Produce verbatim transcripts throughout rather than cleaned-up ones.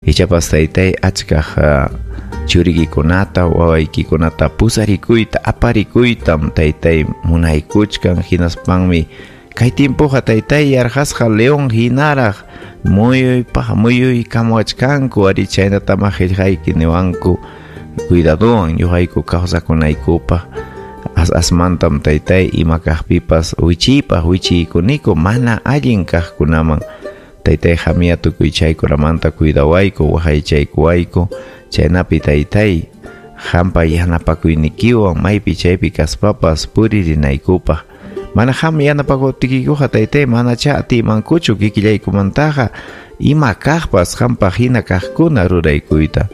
Ichapas taytay achkaq churikikunata, wawaykikunata pusarikuyta, aparikuytam taytay munaykuchkan, hinaspanmi kay tiempoqa taytay yarqasqa león hinaraq muyuypaq muyuykamuwachkanku, ari chaynatam qillqayki niwanku cuidadowan ñuqayku kawsakunaykupaq. As asmantam taytay ima kaqpipas wichiypaq wichiykuniku mana allin kaqkunaman. Taytay qamya tukuy chaykunamanta cuidawayku, waqaychaykuwayku, chaynapi taytay qampa yanapakuynikiwan maypi chaypi kaspapas puririnaykupaq. Mana qam yanapakuptikikuqa taytay manacha atiymankuchu kikillaykumantaqa ima kaqpas qampaq hina kaqkuna ruraykuyta.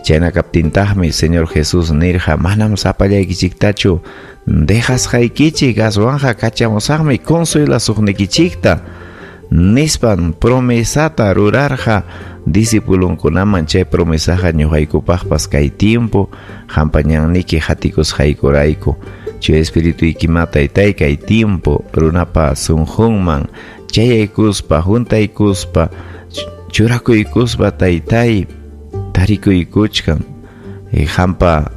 Chayna kaptintaqmi Señor Jesús nirqa manam sapallaykichiktachu dejasqaykichik, aswanqa kachamusaqmi consuelasuqnikichikta nispan promesata rurarqa discipulunkunaman. Chay promesaqa ñuqaykupaqpas kay tiempo qampa ñanniki hatikusqaykurayku. Chay espirituykima taytay kay tiempo runapa sunqunman chayaykuspa, juntaykuspa, churakuykuspa taytay tarikuykuchkan. Qampa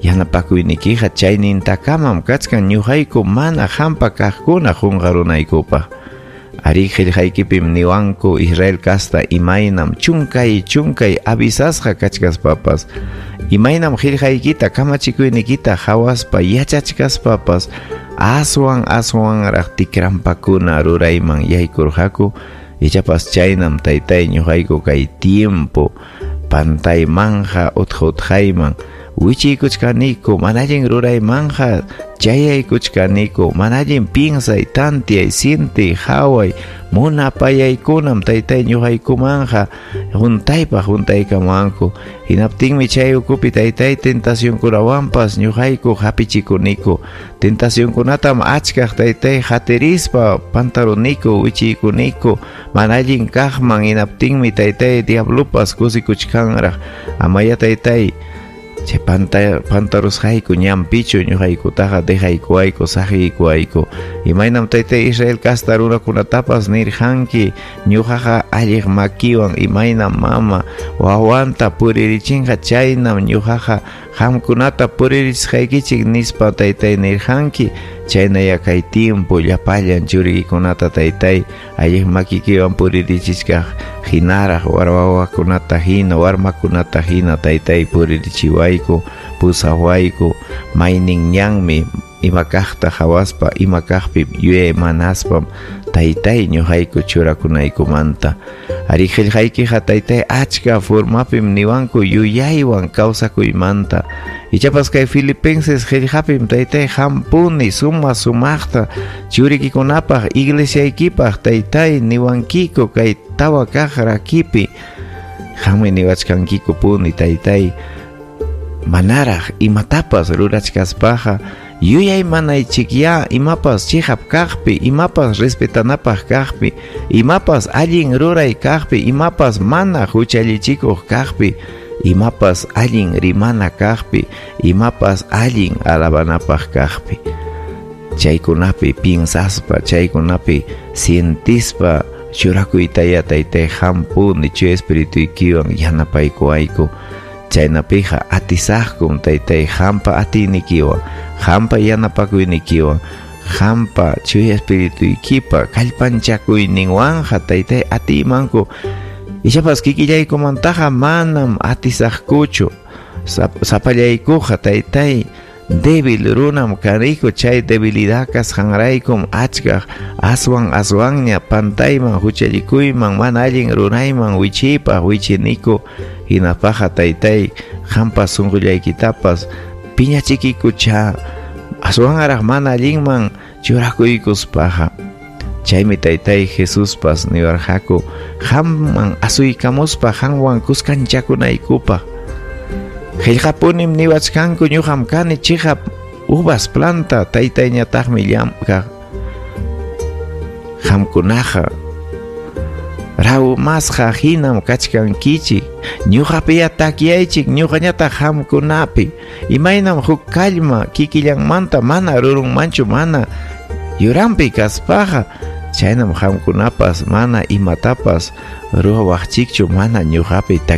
yanapakuynikiqa chaynintakamam kachkan ñuqayku mana qampa kaqkuna qunqarunaykupaq. Ari qillqaykipim niwanku Israel kasta imaynam chunkay chunkay avisasqa kachkaspapas, imaynam qillqaykita kamachikuynikita hawaspa yachachkaspapas aswan aswanraq tikrampakuna rurayman yaykurqaku. Ichapas chaynam taytay ñuqayku kay tiempo pantaymanja utqa utqayman wichiykuchkaniku, mana allin ruraymanja chayaykuchkaniku, mana allin piensay, tantiay, sientiy, haway, munapayaykunam taytay ñuqaykumanja juntaypaq juntaykamanku. Hinaptinmi chay ukupi taytay tentacionkunawanpas ñuqayku hapichikuniku. Tentacionkunatam achkaq taytay hatirispa pantaruniku, wichiykuniku mana allin kaqman. Hinaptinmi taytay diablopas kusikuchkanraq. Amaya taytay chay panta pantarusqayku ñanpichu ñuqaykutaqa dejaykuwayku, saqiykuwayku. Imaynam taytay Israel kasta runakunatapas nirqanki ñuqaqa alliq makiwan imaynam mama wawanta puririchinqa chaynam ñuqaqa qamkunata puririchisqaykichik nispa taytay nirqanki. Chaynaya kay tiempo llapallan churikikunata taytay alliq makikiwan puririchichkaq hinaraq warwawakunata hina, warmakunata hina taytay puririchiwayku, pusawayku. Maynin ñanmi ima kaqta hawaspa, ima kaqpi yuyaymanaspa taytay ñuqayku churakunaykumanta. Ari qillqaykiqa taytay achka formapim niwanku yuyaywan kawsakuymanta. Ichapas kay Filipenses qillqapim taytay hampuni suma sumaqta churikikunapaq iglesiaykipaq taytay niwankiku kay tawa kaq rakipi. Qammi niwachkankiku puni taytay manaraq imatapas rurachkaspaqa yuyaymanaychikya imapas chiqap kaqpi, imapas respetanapaq kaqpi, imapas allin ruray kaqpi, imapas mana huchallichikuq kaqpi, imapas allin rimana kaqpi, imapas allin alabanapaq kaqpi. Chaykunapi piensaspa, chaykunapi sientispa churakuytaya taytay hampuni chay espirituykiwan yanapaykuwayku. Chaynapiqa atisaqkum taytay qampa atiynikiwan, qampa yanapakuynikiwan, qampa chuya espirituykipa kallpanchakuyninwanja taytay atiymanku. Ichapas kikillaykumantaqa manam atisaqkuchu. Sapallaykuqa taytay débil runam kaniku, chay debilidad kasqanraykum achkaq aswan aswanña pantayman, huchallikuyman, mana allin rurayman wichiypaq wichiniku. Hinapaqqa taytay qampa sunqullaykitapas piñachikikucha aswanraq mana allinman churakuykuspaqa. Chaymi taytay Jesuspas niwarqaku qamman asuykamuspa qanwan kuskanchakunaykupaq. Qillqapunim niwachkanku ñuqam kani chiqap uvas planta, taytayñataqmi llamkaq. Qamkunaqa rawmasqa hinam kachkankichik, ñuqapiya takyaychik, ñuqañataq qamkunapi. Imaynam huk kallma kikillanmanta mana rurunmanchu mana yuranpi kaspaqa, Chaynam qamkunapas mana imatapas ruwawaqchikchu mana ñuqapi.